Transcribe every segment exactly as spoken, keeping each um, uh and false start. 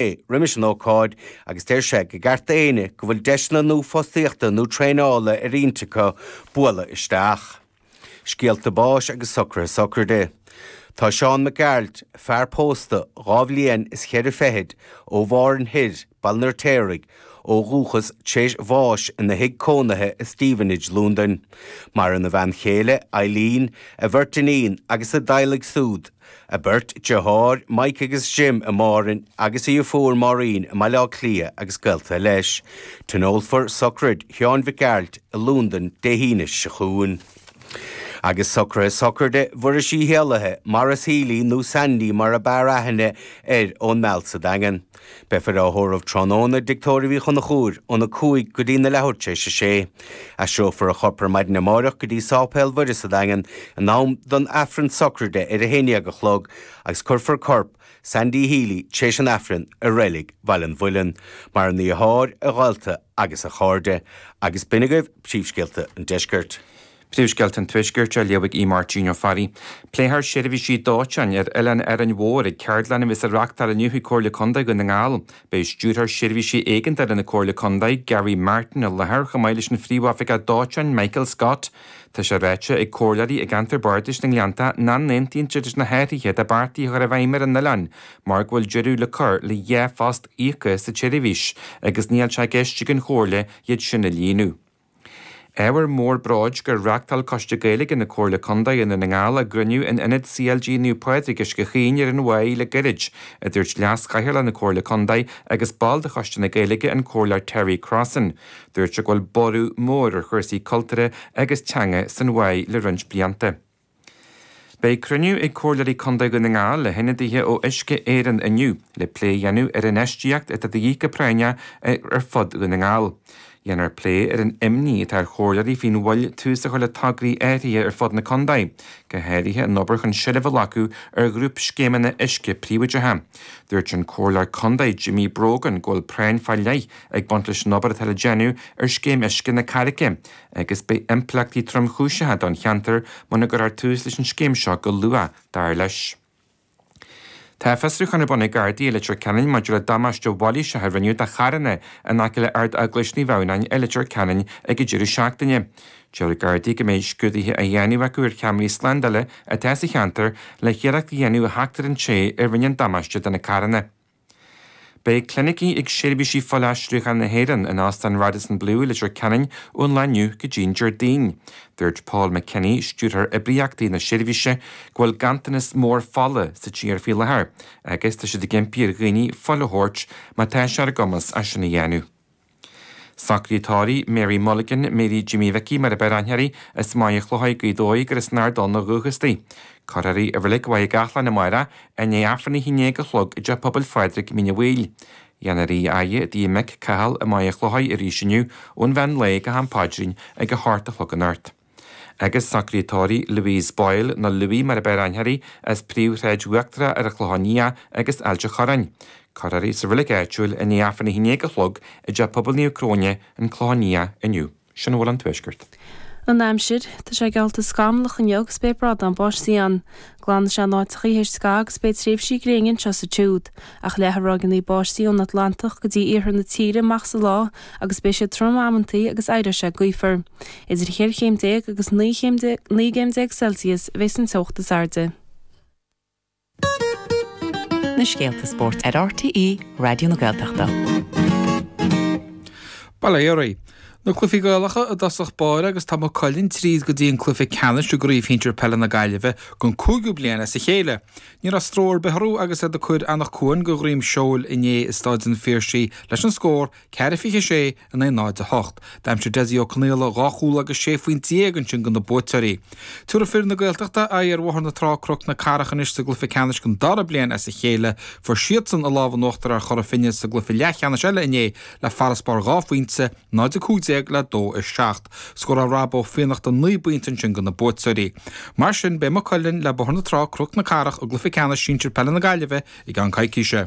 roimis an ócáid agus deir sé gur cheart d'éinne go bhfuil deiseanna nua fostaíochta nó traenála ar intinn acu bualadh isteach. Scéalta báis agus socruithe sochraide. Tá Seán Mac Gearailt, fear pósta dhá bhliain is cheithre fichid ó Mhárn Thoir, Baile an Fheirtéaraigh, ó dhúchas tar éis bháis ina thigh cónaithe i Stevenage, Londain. Maireann a bhean chéile, Eileen, a bheirt iníon agus a dteaghlaigh siúd, a beirt deartháir, Mike agus Jim i Márainn agus a dheirfiúr Maureen i mBaile Átha Cliath agus gaolta leis. Tionólfar sochraid Sheáin Mhic Gearailt i Londain Dé hAoine seo chugainn. Agus socruithe sochraide Mhuiris Uí Héalaithe, Maurice Healy nó Sandy mar a b'fhearr aithne air ón Meal sa Daingean. Beifear á thórramh tráthnóna i dTigh Tórraimh Uí Chonchúir óna cúig go dtí na leathuair tar éis a sé. Aistreofar a chorp ar maidin amárach go dtí Sáipéal Mhuire sa Daingean in am don Aifreann sochraide ar a haon déag a chlog agus cuirfear corp Sandy Healy tar éis an Aifrinn i reilig Bhaile an Mhuilinn, maireann a dheartháir, a ghaolta agus a chairde. Agus b'in agaibh príomhscéalta an deiscirt. Príomhscéalta an Tuaiscirt á léamh ag Máirtín Ó Fearraigh. Pléifear seirbhísí dóiteáin ar Oileán Árainn Mhór ag ceardlann a bheas á reáchtáil inniu ag Comhairle Contae Dhún na nGall. Beidh stiúrthóir seirbhísí éigeandála na Comhairle Contae, Gary Martin, i láthair chomh maith leis an phríomhoifigeach dóiteáin Michael Scott. Tá sé ráite ag comhairleoirí i gceantar Bardais na nGleannta nach n-aontaíonn siad leis na hathruithe atá beartaithe a chur i bhfeidhm ar an oileán mar go bhfuil deireadh le cur le dhá phost íoctha sa tseirbhís agus níl sé i gceist ag an Chomhairle iad sin a líonadh. Ábhar mór bróid gur reáchtáil Coiste Gaeilge na Comhairle Contae i nDún na nGall a gcruinniú in Ionad CLG Naomh Pádraig Uisce Chaoin ar an Mhaigh le gairid, a dúirt leas-chathaoirleach na Comhairle Contae agus ball de Choiste na Gaeilge an Comhairleoir Terry Crossan. Dúirt sé go bhfuil borradh mór ar chúrsaí cultúrtha agus teanga san Mhaigh le roinnt blianta. Beidh cruinniú ag Comhairleoirí Contae Dhún na nGall le hionadaithe ó Uisce Éireann inniu le plé a dhéanamh ar an infheistíocht atá de dhíth go práinneach ar fud Dhún na nGall. Dhéanfar plé ar an imní atá ar chomhairleoirí faoin mhoill tús a chur le tograí áirithe ar fud na contae, go háirithe an obair chun seilbh a ghlacadh ar ghrúpscéimeanna uisce príobháideacha. Dúirt an comhairleoir contae Jimmy Brogan go bhfuil práinn fá leith ag baint leis an obair atá le déanamh ar scéim uisce na Carraice, agus beidh impleachtaí tromchúiseacha don cheantar muna gcuirfear tús leis an scéim seo go luath, dar leis. Tá fiosrúchán ar bun ag Gardaí i Leitir Ceanainn maidir le damáiste mhailíseach a rinneadh do charranna in aice le Ard-Eaglais Naomh Adhamhnáin i Leitir Ceanainn ag an deireadh seachtaine. Deir Gardaí go mbeidh scrúduithe á dhéanamh acu ar cheamaraí slándála atá sa cheantar le hiarracht a dhéanamh a theacht ar an té a rinne an damáiste do na carranna. Beidh clinicí ag seirbhísí fuilaistriúcháin na hÉireann in Óstán Radisson Blu i Leitir Ceanainn ón lá inniu go dtí an Déardaoin. Dúirt Paul McKinney, stiúrthóir oibríochtaí na seirbhíse, go bhfuil ganntanas mór fola sa tír faoi láthair, agus tá siad ag impí ar dhaoine fuil a thabhairt má tá sé ar a gcumas é sin a dhéanamh. Socruithe tórraimh Mary Mulligan, Mary Jimmy Mhicí mar a b'fhearr aithne uirthi, as Maigh Chlocháin Gaoth Dobhair gur as an Ard Donn ó dhúchas di. Cuirfear í i Reilig Mhaigh gCathláin amárach i ndiaidh Aifreann a haon déag a chlog i dTeach Pobail Phádraig Mín an Bhaoill. Dhéanfar í a fhaire i dtigh a mic Cathal i Maigh Chlocháin arís inniu ón mheán lae go ham paidrín ag a hocht a chlog anocht. Agus socruithe tórraimh Louise Boyle nó Louis mar a b'fhearr aithne uirthi as príomhshráid Uachtarach ar an Chlochán Liath agus Ailt an Chorráin. Cuirfear í sa reilig áitiúil i ndiaidh Aifreann a haon déag a chlog i dTeach Pobail Naomh Cróine an Clochán Liath inniu. Sin a bhfuil ón Tuaisceart. An aimsir, tá sé geallta scamallach inniu agus beidh brádán báistí ann. Glanfaidh sé in áiteachaí théis scaitheamh agus beidh tréimhsí gréine anseo is ansiúd. Ach leathfaidh ráigeanna báistí ón Atlantach go dtí iarthar na tíre amach sa lá agus beidh siad trom amantaí agus éireoidh sé gaofar. Idir cheithre chéim déag agus naoi chéim naoi gcéim déag Celsius a bheas an teocht is airde. Na scéalta spóirt ar RTÉ Raidió na Gaeltachta. Bail ó Dhia. Na cluichí Gaelacha i dtosach báire agus tá Maigh Cuilinn tríd go dtí an cluiche ceannais i gcraobh shinsir peile na Gaillimhe don cúigiú bliain as a chéile. Ní raibh stró ar bith orthu agus iad ag cur Anach Cuain go dhroim seoil inné i Staid an Phiarsaigh leis an scór ceathair fiche sé in aghaidh náid a hocht. D'aimsigh Dessie Ó Conaola dhá chúl agus sé phointe déag ansin do na buaiteoirí. Tabharfaidh fir na Gaeltachta aghaidh ar Bhóthar na Trá Cnoc na Cathrach anois sa gcluiche ceannais don dara bliain as a chéile, fuair siadsan a lámh in uachtar ar Chora Finne sa gcluiche leathcheannais eile inné le farasbarr dhá phointe, náid a cúig déag le dó a seacht. Scóráil Rob Ó Fiannachta naoi bpointe ansin do na buaiteoirí. Mar sin beidh Maigh Cuilinn le Bóthar na Trá Cnoc na Cathrach i gcluiche ceannais sinsir peile na Gaillimhe i gceann coicíse.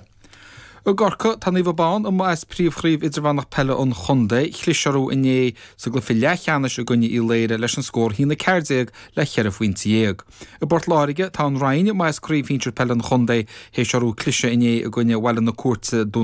I gCorcaigh, tá Naomh Abán amuigh as Príomhchraobh Idirmheánach Peile an Chontae. Chlis orthu inné sa gcluiche leathcheannais i gcoinne Uí Laoire leis an scór a haon a ceathair déag le ceithre phointe dhéag. I bPort Láirge, tá an Rinn amuigh as Craobh Shinsir Peile an Chontae théis orthu cliseadh inné i gcoinne Bhaile na Cúirte, Dún